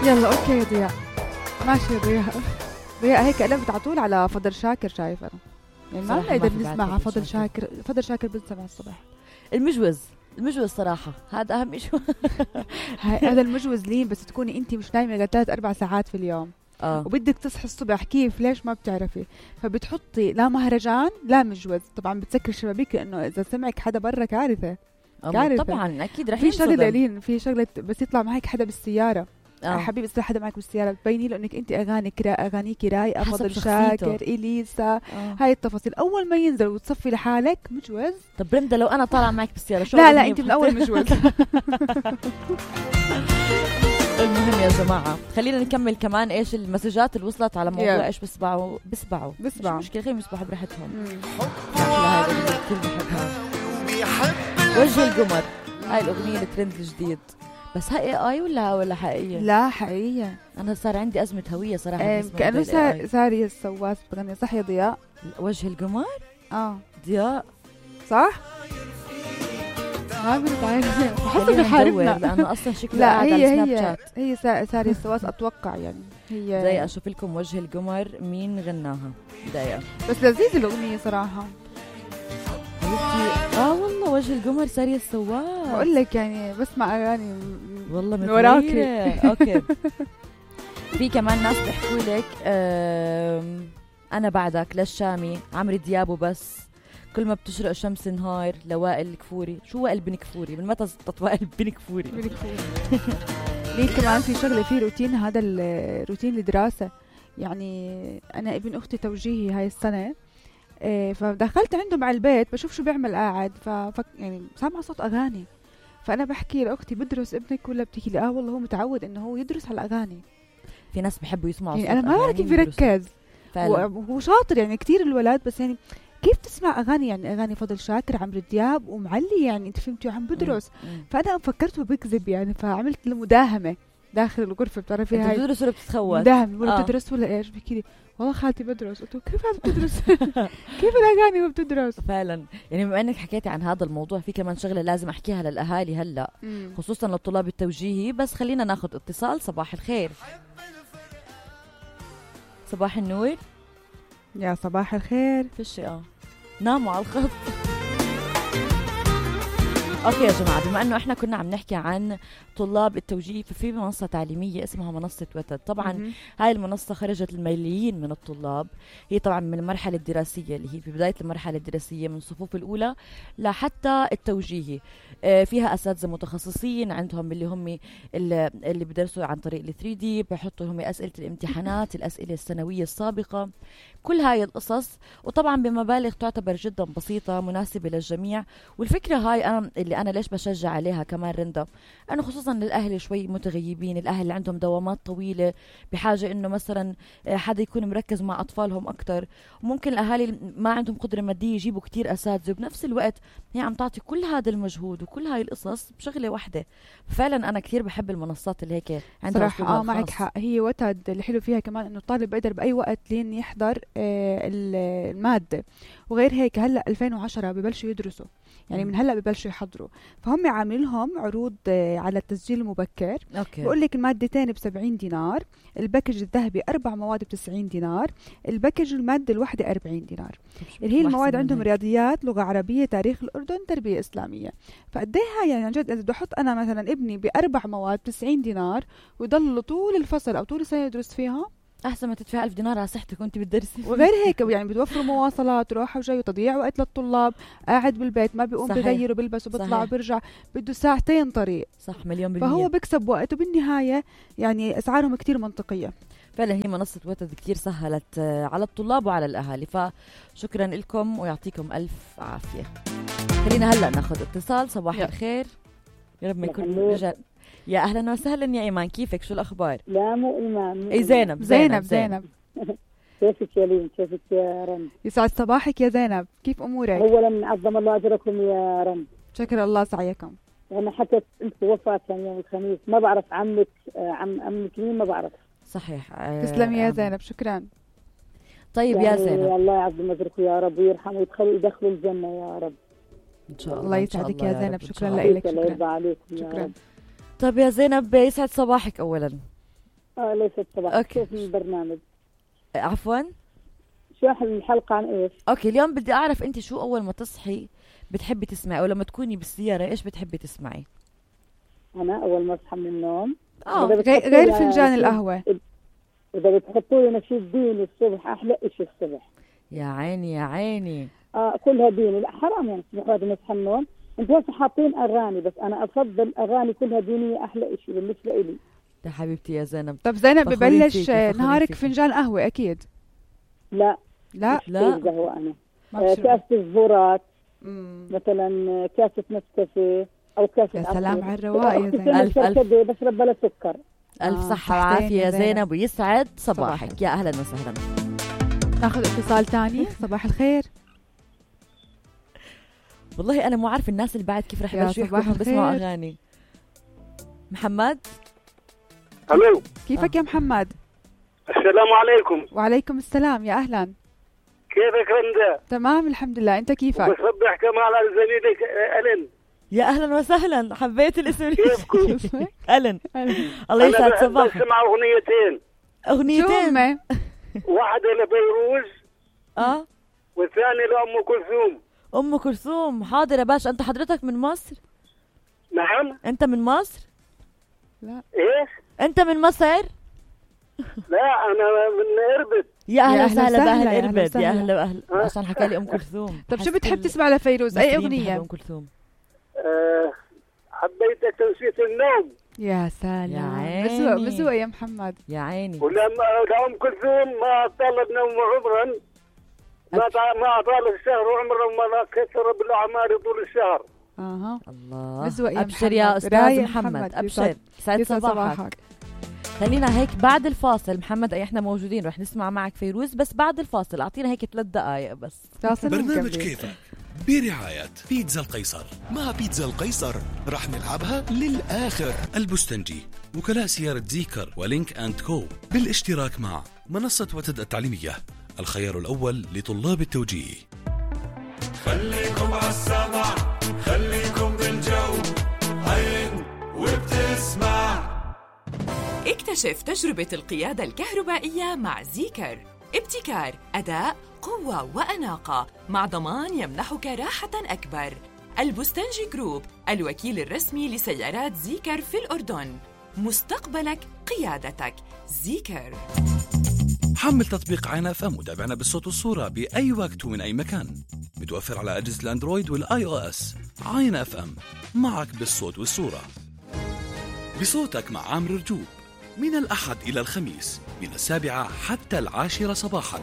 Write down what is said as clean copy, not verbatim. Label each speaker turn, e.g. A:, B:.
A: يلا اوكي يا ضياء، ماشي يا ضياء. ضياء هيك قلبت على طول على فضل شاكر، شايف انا يعني ما بنقدر نسمع على فضل شاكر. فضل شاكر بنسمع الصبح.
B: المجوز صراحة هذا أهم شيء.
A: هذا المجوز لين بس تكوني انت مش نايمة 3-4 ساعات في اليوم وبدك تصحي الصبح، كيف ليش ما بتعرفي؟ فبتحطي لا مهرجان لا مجوز، طبعا بتسكر الشبابيك لانه اذا سمعك حدا برا كارثة.
B: طبعا اكيد رح
A: في شغله لين، في شغله بس يطلع معك حدا بالسياره حبيبي يصير حدا معك بالسياره بتبيني له انك انت اغانيك رايقه، فضل شاكر، اليسا، هاي التفاصيل. اول ما ينزل وتصفي لحالك مجوز.
B: طب برندا لو انا طالعه معك بالسياره شو؟
A: لا انت من اول مجوز.
B: المهم يا جماعه خلينا نكمل كمان ايش المسجات اللي وصلت على موضوع ايش بسبعوا مش مشكله، خليهم يسبحوا براحتهم. هاي الاغنيه كثير بحبها، وجه القمر. هاي الاغنيه الترند الجديد، بس هاي اي ولا حقيقيه؟
A: لا حقيقيه.
B: انا صار عندي ازمه هويه صراحه.
A: كانه ساري السواس بغني. صح يا ضياء؟
B: وجه القمر.
A: ضياء صح؟ ما بنتعرف، بحسه بحاربنا
B: لانه اصلا شكله قاعد على سناب شات.
A: هي ساري السواس اتوقع يعني. هي
B: دقيقه اشوف لكم وجه القمر مين غناها. دقيقه
A: بس لذيذه الاغنيه صراحه.
B: والله وجه القمر ساري السواس.
A: بقول لك يعني بسمع اغاني
B: والله
A: من وراك.
B: اوكي. في كمان ناس بيحكوا لك انا بعدك للشامي، عمرو دياب وبس، كل ما بتشرق شمس نهار لوائل الكفوري. شو وائل بن كفوري؟ من متى زبطت وائل بن كفوري؟
A: ليه كمان في شغله في روتين، هذا الروتين الدراسه يعني. انا ابن اختي توجيهي هاي السنه، فدخلت عندهم على البيت بشوف شو بيعمل قاعد، يعني سامعه صوت اغاني. فانا بحكي لاختي بدرس ابنك ولا؟ بتحكي لي والله هو متعود انه هو يدرس على الاغاني.
B: في ناس بيحبوا يسمعوا
A: يعني انا ما بعرف كيف يركز. وهو شاطر يعني كتير الولد، بس يعني كيف تسمع اغاني؟ يعني اغاني فضل شاكر، عمرو دياب ومعلي، يعني انت فهمتي وعم بدرس. فانا فكرته بكذب يعني، فعملت له مداهمه داخل الغرفه. بتعرفي هاي
B: بتدرس ولا بتتخوت؟
A: مداهمه. ولا بتدرس ولا ايش؟ بحكي لي والله خالتي بدرس. قلت له كيف هذا بتدرس؟ كيف الاغاني وبتدرس؟
B: فعلا يعني بما انك حكيتي عن هذا الموضوع، في كمان شغله لازم احكيها للاهالي هلا خصوصا للطلاب التوجيهي. بس خلينا ناخذ اتصال. صباح الخير. صباح النور.
A: يا صباح الخير.
B: فيش ناموا على الخط. اوكي يا جماعه، بما انه احنا كنا عم نحكي عن طلاب التوجيه، ففي منصه تعليميه اسمها منصه وتد. طبعا هاي المنصه خرجت الملايين من الطلاب. هي طبعا من المرحله الدراسيه اللي هي في بدايه المرحله الدراسيه من الصفوف الاولى لحتى التوجيهي. فيها اساتذه متخصصين عندهم اللي هم اللي بدرسوا عن طريق ال 3 دي، بحطوا لهم اسئله الامتحانات، الاسئله السنويه السابقه، كل هاي القصص. وطبعا بمبالغ تعتبر جدا بسيطه مناسبه للجميع. والفكره هاي اللي انا ليش بشجع عليها كمان رندا، انه خصوصا للاهل شوي متغيبين، الاهل اللي عندهم دوامات طويله بحاجه انه مثلا حدا يكون مركز مع اطفالهم اكثر. وممكن الاهالي ما عندهم قدره ماديه يجيبوا كتير اساتذه، وبنفس الوقت هي عم تعطي كل هذا المجهود وكل هاي القصص بشغله واحده. فعلا انا كثير بحب المنصات اللي هيك عندها
A: صراحه. معك حق. هي وتد الحلو فيها كمان انه الطالب بيقدر باي وقت لين يحضر الماده. وغير هيك هلا 2010 ببلشوا يدرسوا، يعني من هلا ببلشوا يحضروا. فهم عاملين لهم عروض على التسجيل المبكر. بقول لك المادتين ب70 دينار، الباكج الذهبي 4 مواد ب90 دينار، الباكج الماده الواحده 40 دينار. اللي هي المواد عندهم رياضيات، لغه عربيه، تاريخ الاردن، تربيه اسلاميه. فقديها يعني عن جد اذا بدي احط انا مثلا ابني ب4 مواد ب90 دينار ويضل طول الفصل او طول السنه يدرس فيها،
B: احسن ما تدفع 1000 دينار على صحتك وانت بتدرسي.
A: وغير هيك يعني بتوفروا مواصلات روحه وجاي وتضييع وقت للطلاب. قاعد بالبيت ما بيقوم بغير وبلبس وبيطلع وبرجع، بده ساعتين طريق.
B: صح، مليون %.
A: فهو بيكسب وقت، وبالنهايه يعني اسعارهم كتير منطقيه.
B: فعلا هي منصه وتد كتير سهلت على الطلاب وعلى الاهالي. فشكرا لكم ويعطيكم الف عافيه. خلينا هلا ناخذ اتصال. صباح الخير. يا رب ما يكون رجال. يا اهلا وسهلا يا ايمان، كيفك؟ شو الاخبار؟
C: لا مو ايمان.
B: اي زينب.
C: كيفك يا لين؟ كيفك يا رن؟
A: يسعد صباحك يا زينب، كيف امورك؟
C: اولا عظم الله اجركم يا رن.
A: شكر الله سعيكم.
C: انا حكيت انت وفاه كان يوم الخميس، ما بعرف عمك عمك مين، ما بعرف.
A: صحيح. تسلمي يا زينب، شكرا.
B: طيب يا زينب،
C: الله يعظم اجركم يا رب ويرحمه ويدخلوا الجنه يا رب
B: ان شاء الله.
A: الله يسعدك يا زينب، شكرا لك.
C: شكرا.
A: شكرا.
B: طيب يا زينب، يسعد صباحك اولا.
C: ليست صباح.
B: أوكي.
C: كيف البرنامج؟
B: عفوا.
C: شو الحلقة عن ايش؟
B: اوكي، اليوم بدي اعرف انت شو اول ما تصحي بتحبي تسمعي، او لما تكوني بالسيارة ايش بتحبي تسمعي؟
C: انا اول ما اصحى من النوم
A: غير فنجان القهوة.
C: اذا بتحطوا لي نشيد ديني الصبح احلى شيء الصبح.
B: يا عيني يا عيني.
C: كلها ديني. لا حرام يعني الصبح بعد ما اصحى من النوم. انتوا هسه حاطين اغاني، بس انا افضل اغاني كلها دينية احلى شيء بالنسبة لي.
B: يا حبيبتي يا زينب.
A: طب زينب
B: فخورين
A: ببلش
B: فيكي، فخورين
A: نهارك
B: فيكي.
A: فنجان قهوة أكيد؟
C: لا
A: لا
C: قهوة انا.
A: ما بشرب.
C: كاسة الزهورات مثلا، كاسة نسكافيه او كاسة
A: يا سلام
C: عصير.
A: على الرواق يا زينب.
B: ألف
C: كركديه بشرب بلا سكر.
B: ألف صحة
A: تحتين
B: وعافية يا
A: يا زينب.
B: زينب، ويسعد صباحك.
A: صباحك.
B: يا أهلا وسهلا.
A: ناخذ اتصال تاني. صباح الخير.
B: والله أنا مو عارف الناس اللي بعد كيف رح
A: يا
B: يبلشوا
A: صباح
B: يحكوا بيسمعوا
A: الخير.
B: أغاني. محمد.
D: الو،
A: كيفك يا محمد؟
D: السلام عليكم.
A: وعليكم السلام، يا أهلا.
D: كيفك رندا؟
A: تمام الحمد لله، أنت كيفك؟
D: بصبح كمان على زميلك ألين.
B: يا أهلا وسهلا، حبيت الاسم.
D: كيفكم؟
B: ألن. الله يسعد
D: أنا
B: صباحك.
D: بسمع أغنيتين.
A: شو
B: أغنيتين.
A: هم؟
D: واحدة لفيروز والثانية لأم كلثوم.
B: أم كلثوم. حاضر يا باشا. أنت حضرتك من مصر؟
D: نعم.
B: أنت من مصر؟
D: إيش؟
B: أنت من مصر؟
D: لا أنا من إربد.
B: يا أهلا
A: أهلا
B: وسهلا
A: وسهلا،
B: بأهل
A: يا أهلا
B: إربد. يا
A: وسهلا.
B: أهلا وأهلا. عشان حكى لي أم كلثوم.
A: طب شو
B: حسيت
A: بتحب تسمع لفيروز؟ أي
B: المصريين بيحبوا
A: أغنية؟
B: أم كلثوم.
D: حبيتك تنسيت النوم.
A: يا
B: يا
A: سلام.
B: عيني.
A: بسوق بسوق يا محمد.
B: يا عيني.
D: ولما لأم كلثوم ما طالب نوم عمرا، ما طال الشهر عمرا، وما كثر بالأعمال طول الشهر.
B: الله.
A: بسوق يا
B: أبشر يا
A: محمد.
B: أستاذ
A: رايق
B: محمد. أبشر.
A: يسعد
B: سعد صباحك. خلينا هيك بعد الفاصل محمد، احنا موجودين رح نسمع معك فيروز، بس بعد الفاصل اعطينا هيك 3 دقائق بس.
E: برنامج كيفك برعاية بيتزا القيصر. مع بيتزا القيصر رح نلعبها للآخر. البستنجي، وكلاء سيارة زيكر ولينك أند كو، بالاشتراك مع منصة وتد التعليمية، الخيار الأول لطلاب التوجيه.
F: خليكم عالسمع، خليكم بالجو، عين وبتسمع.
G: اكتشف تجربة القيادة الكهربائية مع زيكر. ابتكار، أداء، قوة وأناقة، مع ضمان يمنحك راحة أكبر. البستنجي جروب، الوكيل الرسمي لسيارات زيكر في الأردن. مستقبلك قيادتك. زيكر.
E: حمل تطبيق عين اف ام وتابعنا بالصوت والصورة بأي وقت ومن أي مكان. متوفر على أجهزة الأندرويد والآي أو إس. عين اف ام، معك بالصوت والصورة. بصوتك مع عامر رجوب، من الأحد إلى الخميس من 7 حتى 10 صباحا.